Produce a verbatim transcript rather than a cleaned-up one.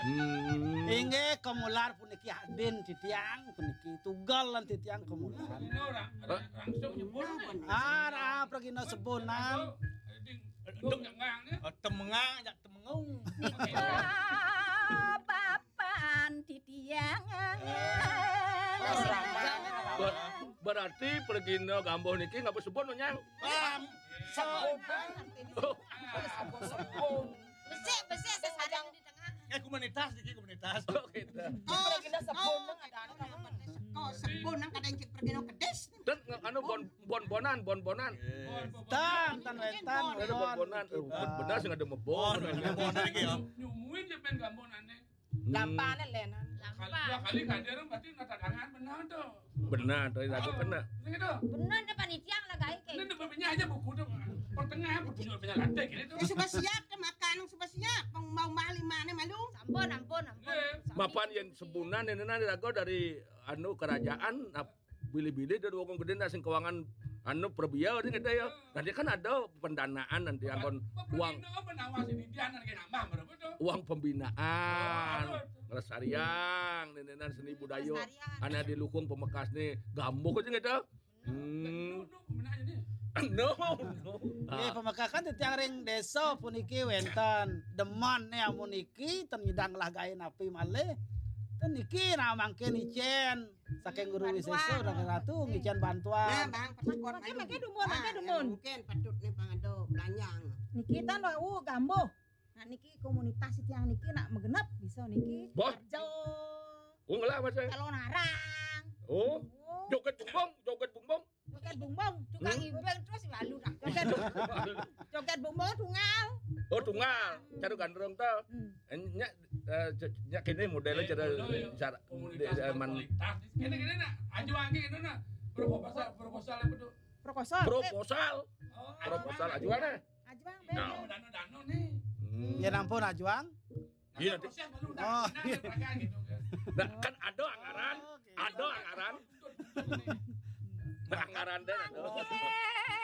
Hmm. Inggih, Komular puniki adin titiang puniki, tugel lan titiang Komular. Ini orang, orang langsung nyebut. Ah, ah, pragina sebunan. Ding, ding, jangan, ya. Oh, temengang, jak temengung. Nika papan titiang. Ber-, berarti pragina gambuh niki ngapa sebut, Nyang? Am, sebut. Oh. Sebut. Besik, besik, sesarang di tengah. Eh, komunitas niki, komunitas. Oh, gitu. Kok sebut nang ada anu, kok sebut nang kadang cek pergi nang kedis. Dan anu bon-, bon-bonan, bon-bonan. Tan, tan wentan. Ada bon-bonan. Eh, benar sih ada mebon. Bon, ada bon lagi ya. Nyumuin je pen gambonane. Hmm. Lampane lenan. Kali dua kali kader berarti nata dangan benar tuh. Benar, dari lagu kena. Benar gitu. Benar deh panitia ngelegai kayak. Ini udah punya aja buku tuh. Pertengahan buku juga punya lantai gitu. Ya, sudah siap deh makan, sudah siap. Mau, mau mah lima nih malu. Ampun, ampun, ampun. Iya. Mapan yang sebunan ini nanti lagu dari anu kerajaan, nah, bilih-bilih dia wong gedé nak sing keuangan anu perbiau dia kata ya. Nanti kan ada pendanaan nanti anggon uang. Apa penawar sini dia nanti nambah berapa tuh? Uang pembinaan, oh, aduh. Ngelestariang, nenenan seni budaya. Lestariang. Anak di Lukung Pemekas nih, gambok aja gitu. Hmm. No, no, no. Nggih, pamekakan titiang ring desa puniki wénten. Demen nih amun niki ten nyidang lah gaé napi malih. Ten niki nah mangkin icén saking Guru Wisésa, Ratu ngicén bantuan. Nah, Bang, pernah kon malu. Mangke dumun, mangke dumun. Mungkin patut nih Bang ada belanjang. Niki tan wau gambuh. Nah, niki komunitas tiang niki nak magenep bisa niki. Bah. Arjo. Oh, ngelah, Mas, eh? Calon arang. Oh. Oh. Joget bumbung, joget bumbung. Joget bumbung, tukang ibeng terus lalu dah. Joget, joget bumbung tunggal. Oh, tunggal. Caru gandrung to. Hmm. Eh, nyak, eh, c-, nyak kene modelnya cara, cara komunitas, eh, man- komunitas. Kene, kene nak, ajuang kene nak. Proposal, proposal apa tuh? Proposal. Proposal. Oh, proposal ajuang, eh. Ajuang, nah, beda. Dano, dano nih. Hmm. Ya ampun, ajuang. Iya, nanti. Proses baru udah, oh, nah, iya, gitu kan. Nah, kan ada anggaran, oh, oke, ada anggaran. Nah, anggaran deh, ada. Oke.